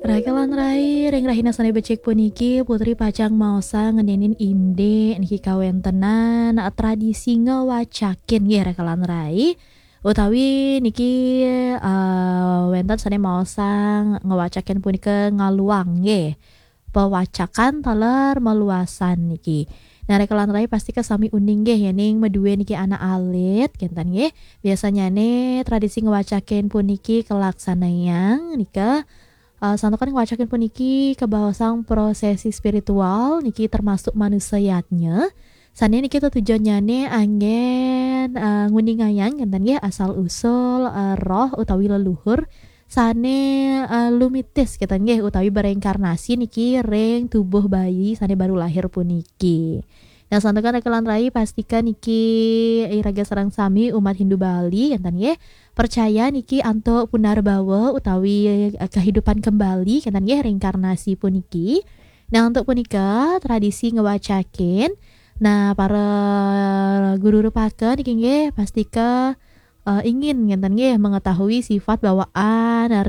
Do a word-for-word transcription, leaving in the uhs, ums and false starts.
Raka lan rai, ring rahina sane becik puniki, Putri pacang maosang ngenenin indik niki kawentenan tradisi ngewacakin nggih, Raka lan rai. Utawi niki, eh, wenten sane maosang ngewacakin punika ngaluang nggih. Pewacakan taler meluasan niki. Nah, Raka lan rai pastika sami uning nggih, yening madue niki anak alit, kenten nggih. Biasanyane tradisi ngewacakin puniki kalaksanayang nika, eh, santukan ngewacakin puniki kabaosang prosesi spiritual niki termasuk manusa yadnya. Sane niki tetujonnyane anggen, eh, nguningayang kenten nggih asal usul, eh, roh utawi leluhur sane, eh, lumitis kenten nggih utawi bereinkarnasi niki ring tubuh bayi sane baru lahir puniki. Nah, santukan Raka lan rai pastika niki iraga sareng sami umat Hindu Bali kenten nggih percaya niki antuk punarbawa utawi, eh, kehidupan kembali kenten nggih reinkarnasi puniki. Nah, untuk punika tradisi ngewacakin, nah, para guru rupaka niki nggih pastika, eh, ingin ngenten nggih mengetahui sifat bawaan